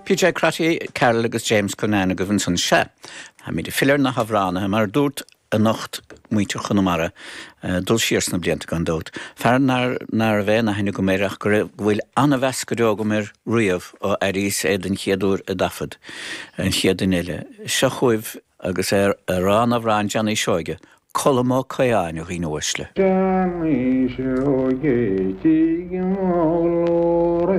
PJ Crotty, Carol agus James Cunnane agaibh ansan. Sea, táimid ag filleadh ar na hamhránaithe, mar a dúrt anocht, muintir Chonamara, dul siar sna blianta gan dabht. Fear ná raibh aon aithne agam air ach go raibh, go bhfuil an-mheas go deo agam air riamh ó airíos é den chéad uair i dtaifead, an chéad duine eile. Seo chugaibh agus é ag rá an amhráin Johnny Seoige, Colm Ó Caodháin, a dhaoine uaisle. Johnny Seoige, tigh mo ghlór.